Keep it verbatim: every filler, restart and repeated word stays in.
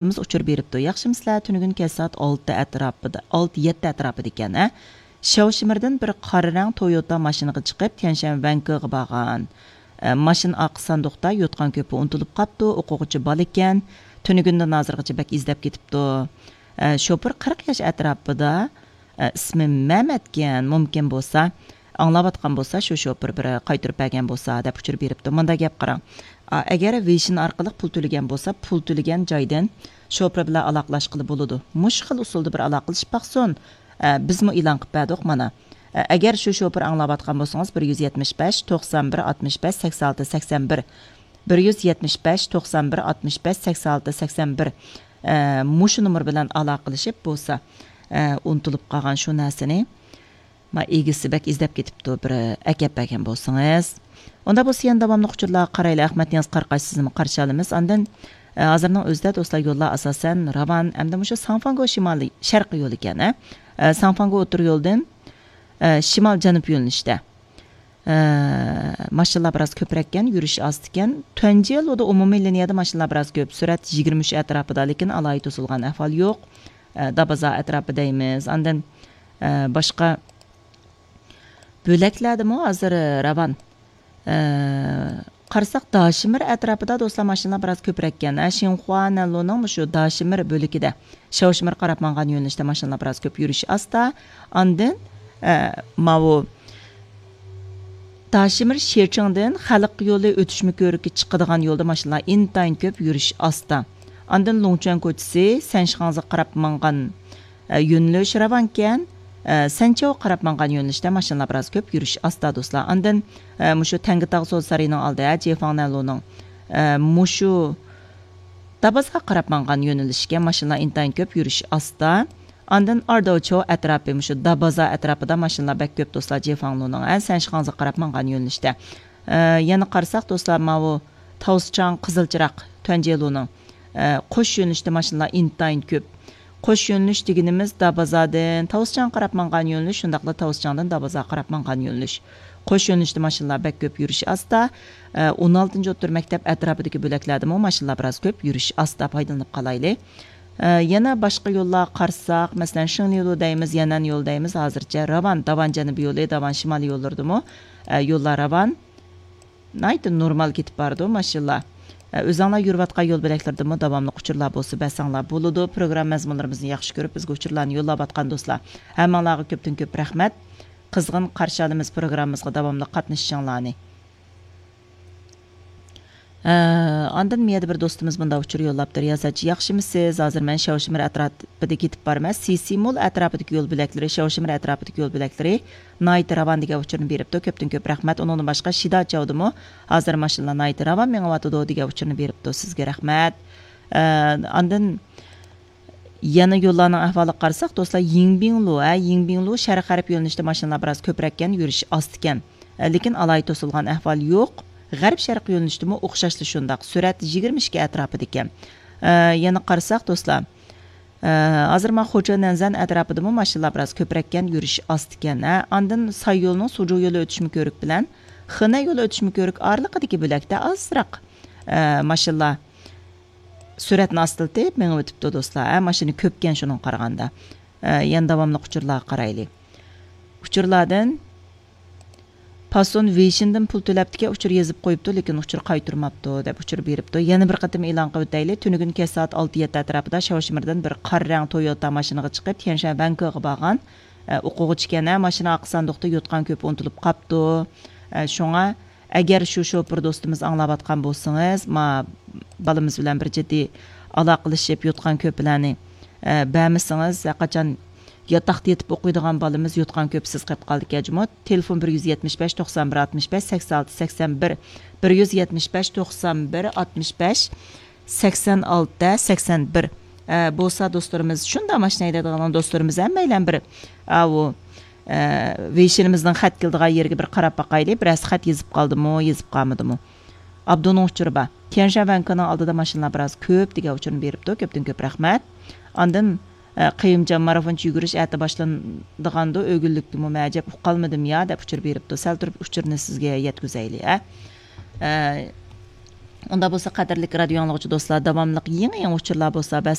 ئۇچۇر بېرىپتۇ. ياخشىمۇسىلەر؟ تۈنۈگۈن كەچ سائەت ئالتە ئەتراپىدا، ئالتە يەتتە ئەتراپىدا ئىكەن، ھە؟ شياۋشىمىردىن بىر قارا رەڭ تويوتا ماشىنىغا چىقىپ، تيەنشەن ۋەنكېغا بارغان. ئە، ماشىنا ئارقا ساندۇقتا يوتقان كۆپى ئۇنتۇلۇپ قاپتۇ، ئوقۇغۇچى بالا ئىكەن. تۈنۈگۈندىن ھازىرغىچە بەك ئىزدەپ كېتىپتۇ. ئە، شوپۇر قىرىق ياش ئەتراپىدا، ئە، ئىسمى مەمەتكەن، مۇمكىن بولسا، ئاڭلاۋاتقان بولسا، شۇ شوپۇر بىر قايتۇرۇپ بەرگەن بولسا، دەپ ئۇچۇر بېرىپتۇ. مۇنداق گەپ قاراڭ. ئا، ئەگەر ۋېيشىن ئارقىلىق پۇل تۆلىگەن بولسا، پۇل تۆلىگەن جايدىن شوپۇر بىلەن ئالاقىلاشقىلى بولىدۇ. مۇشۇ خىل ئۇسۇلدا بىر ئالاقىلىشىپ باقسۇن. ئە، بىزمۇ ئېلان قىلىپ بەردۇق مانا. ئە، ئەگەر شۇ شوپۇر ئاڭلاۋاتقان بولسىڭىز، بىر يۈز يەتمىش بەش، توقسان بىر، ئاتمىش بەش، سەكسەن ئالتە، سەكسەن بىر، بىر يۈز يەتمىش بەش، توقسان بىر، ئاتمىش بەش، سەكسەن ئالتە، سەكسەن بىر، ئە، مۇشۇ نومۇر بىلەن ئالاقىلىشىپ بولسا، ئە، ئۇنتۇلۇپ قالغان شۇ نەرسىنى، ما، ئىگىسى بەك ئىزدەپ كېتىپتۇ، بىر ئەكەپ بەرگەن بولسىڭىز. ئۇنداق بولسا يەنە داۋاملىق ئۇچۇرلارغا قارايلى. ئەخمەت نىياز قاراقاش سىزنىمۇ قارشى ئالىمىز. ئاندىن، ئە، ھازىرنىڭ ئۆزىدە دوستلار يوللار ئاساسەن راۋان، ئەمدى مۇشۇ ساڭفاڭگو شىمالىي شەرقىي يول ئىكەن، ھە؟ ئە، ساڭفاڭگو ئوتتۇرا يولدىن، ئە، شىمال جەنۇب يۆنىلىشتە. ئە، ماشىنىلار بىراز كۆپرەككەن، يۈرۈش ئاستىكەن. تۇەنجيېلۇدا ئومۇمىي لىنىيەدە ماشىنىلار بىراز كۆپ، سۈرئەت يىگىرمە ئۈچ ئەتراپىدا، لېكىن ئالاھىدە توسۇلغان ئەھۋال يوق. ئە، دابازا ئەتراپى دەيمىز. ئاندىن، ئە، باشقا بۆلەكلەردىمۇ ھازىر راۋان. ئە، قارىساق، داشىمىر ئەتراپىدا دوستلار ماشىنىلار بىراز كۆپرەككەن. ئە، شىنخۇا نەنلۇنىڭ مۇشۇ داشىمىر بۆلىكىدە، شاۋشىمىر قاراپ ماڭغان يۆنىلىشتە ماشىنىلار بىراز كۆپ، يۈرۈش ئاستا. ئاندىن، ئە، ماۋۇ داشىمىر شىچىڭدىن خەلق يولى ئۆتۈشمە كۆۋرۈككە چىقىدىغان يولدا ماشىنىلار ئىنتايىن كۆپ، يۈرۈش ئاستا. ئاندىن لۇڭچۈەن كوچىسى سەنشىخاڭزىغا قاراپ ماڭغان ئە، يۆنىلىش راۋانكەن، ئە، سەنچياۋغا قاراپ ماڭغان يۆنىلىشتە ماشىنىلار بىراز كۆپ، يۈرۈش ئاستا دوستلار. ئاندىن، ئە، مۇشۇ تەڭگىتاغ سودا سارىيىنىڭ ئالدى، ھە، جېفاڭ نەنلۇنىڭ، ئە، مۇشۇ دابازغا قاراپ ماڭغان يۆنىلىشكە ماشىنىلار ئىنتايىن كۆپ، يۈرۈش ئاستا. ئاندىن ئارداۋچو ئەتراپى، مۇشۇ دابازا ئەتراپىدا ماشىنىلار بەك كۆپ دوستلار، جېفاڭلۇنىڭ، ھە، سەنشىخاڭزىغا قاراپ ماڭغان يۆنىلىشتە. ئە، يەنە قارىساق دوستلار، ماۋۇ تاۋسىچاڭ قىزىل چىراغ تۈەنجيېلۇنىڭ، ئە، قوش يۆنىلىشتە ماشىنىلار ئىنتايىن كۆپ. قوش يۆنىلىش دېگىنىمىز دابازادىن تاۋسىچاڭغا قاراپ ماڭغان يۆنىلىش، شۇنداقلا تاۋسىچاڭدىن دابازاغا قاراپ ماڭغان يۆنىلىش. قوش يۆنىلىشتە ماشىنىلار بەك كۆپ، يۈرۈش ئاستا. ئە، ئون ئالتىنچى ئوتتۇرا مەكتەپ ئەتراپىدىكى بۆلەكلەردىمۇ ماشىنىلار بىراز كۆپ، يۈرۈش ئاستا، پايدىلىنىپ قالايلى. ئە، يەنە باشقا يوللارغا قارىساق، مەسىلەن، شىڭلىلۇ دەيمىز، يەنەن يولى دەيمىز، ھازىرچە راۋان، داۋان جەنۇبىي يولى، داۋان شىمالىي يوللىرىدىمۇ، ئە، يوللار راۋان. ناھايىتى نورمال كېتىپ بارىدۇ، ماشىنىلار. ئە، ئۆزۈڭلار يۈرۈۋاتقان يول بۆلەكلىرىدىمۇ داۋاملىق ئۇچۇرلار بولسا بەرسەڭلار بولىدۇ. پروگرامما مەزمۇنلىرىمىزنى ياخشى كۆرۈپ، بىزگە ئۇچۇرلارنى يوللاۋاتقان دوستلار، ھەممىڭلارغا كۆپتىن كۆپ رەھمەت. قىزغىن قارشى ئالىمىز پروگراممىمىزغا داۋاملىق قاتنىشىشىڭلارنى. ئە، ئاندىن مۇيەردە بىر دوستىمىز مۇنداق ئۇچۇر يوللاپتۇ، رىيازەتچى، ياخشىمۇسىز؟ ھازىر مەن شاۋشىمىر ئەتراپىدا كېتىپ بارىمەن. سىسىمول ئەتراپىدىكى يول بۆلەكلىرى، شاۋشىمىر ئەتراپىدىكى يول بۆلەكلىرى ناھايىتى راۋان دېگەن ئۇچۇرنى بېرىپتۇ. كۆپتىن كۆپ رەھمەت. ئۇنىڭدىن باشقا شىدا چاۋدىمۇ ھازىر ماشىنىلار ناھايىتى راۋان مېڭىۋاتىدۇ دېگەن ئۇچۇرنى بېرىپتۇ. سىزگە رەھمەت. ئە، ئاندىن يەنە يوللارنىڭ ئەھۋالىغا قارىساق، دوستلار، يىڭبىڭلۇ، ھە، يىڭبىڭلۇ شەرق غەرب يۆنىلىشتە ماشىنىلار بىراز كۆپرەككەن، يۈرۈش ئاستىكەن. ئە، لېكىن ئالاھىدە توسۇلغان ئەھۋال يوق. غەرب شەرق يۆنىلىشتىمۇ ئوخشاشلا شۇنداق. سۈرئەت يىگىرمە ئىككى ئەتراپىدىكەن. ئە، يەنە قارىساق، دوستلار، ئە، ھازىر مانا خوچا نەنزەن ئەتراپىدىمۇ ماشىنىلار بىراز كۆپرەككەن، يۈرۈش ئاستىكەن. ئە، ئاندىن ساي يولىنىڭ سۇجۇ يولى ئۆتۈشمە كۆۋرۈك بىلەن خېنەي يولى ئۆتۈشمە كۆۋرۈك ئارىلىقىدىكى بۆلەكتە ئازراق، ئە، ماشىنىلار سۈرئەتنى ئاستىلىتىپ مېڭىۋېتىپتۇ، دوستلار. ھە، ماشىنا كۆپكەن شۇنىڭغا قارىغاندا. ھە، يەنە داۋاملىق ئۇچۇرلارغا قارايلى. ئۇچۇرلاردىن پاسون ۋېيشىندىن پۇل تۆلەپتىكەن، ئۇچۇر يېزىپ قويۇپتۇ، لېكىن ئۇچۇر قايتۇرماپتۇ، دەپ ئۇچۇر بېرىپتۇ. يەنە بىر قېتىم ئېلان قىلىۋېتەيلى. تۈنۈگۈن كەچ سائەت ئالتە يەتتە ئەتراپىدا شاۋشىمىردىن بىر قارا رەڭ تويوتا ماشىنىغا چىقىپ، تيەنشەن ۋەنكېغا بارغان. ئە، ئوقۇغۇچىكەن، ھە، ماشىنا ئارقا ساندۇقتا يوتقان كۆپى ئۇنتۇلۇپ قاپتۇ. ئە، شۇڭا ئەگەر شۇ شوپۇر دوستىمىز ئاڭلاۋاتقان بولسىڭىز، ما بالىمىز بىلەن بىر جىددىي ئالاقىلىشىپ، يوتقان كۆپىلەرنى، ئە، بەرمىسىڭىز، ھەرقاچان ياتاقتا يېتىپ ئوقۇيدىغان بالىمىز يوتقان كۆپىسىز قېلىپ قالىدىكەن جۇمۇ. تېلېفون بىر يۈز يەتمىش بەش، توقسان بىر، ئاتمىش بەش، سەكسەن ئالتە، سەكسەن بىر، بىر يۈز يەتمىش بەش، توقسان بىر، ئاتمىش بەش، سەكسەن ئالتە، سەكسەن بىر. ئە، بولسا دوستلىرىمىز، شۇنداق ماشىنا ھەيدەيدىغان دوستلىرىمىز ھەممەيلەن بىر، ئاۋۇ، ئە، ۋېيشىنىمىزنىڭ خەت كېلىدىغان يېرىگە بىر قاراپ باقايلى. بىرەرسى خەت يېزىپ قالدىمۇ، يېزىپ قالمىدىمۇ؟ ئابدۇنىڭ ئۇچۇرى بار. تيەنشەن ۋەنكىنىڭ ئالدىدا ماشىنىلار بىراز كۆپ دېگەن ئۇچۇرنى بېرىپتۇ. كۆپتىن كۆپ رەھمەت. ئاندىن، ئە، قېيۇمجان، مارافونچە يۈگۈرۈش ئەتە باشلىنىدىغاندۇ، ئۆگۈنلۈكتىمۇ مەن ئەجەب ئۇقالمىدىم يا، دەپ ئۇچۇر بېرىپتۇ. سەل تۇرۇپ ئۇچۇرنى سىزگە يەتكۈزەيلى، ئە. ئە، ئۇندا بولسا، قەدىرلىك رادىيو ئاڭلىغۇچى دوستلار، داۋاملىق يېڭى يېڭى ئۇچۇرلار بولسا ۋە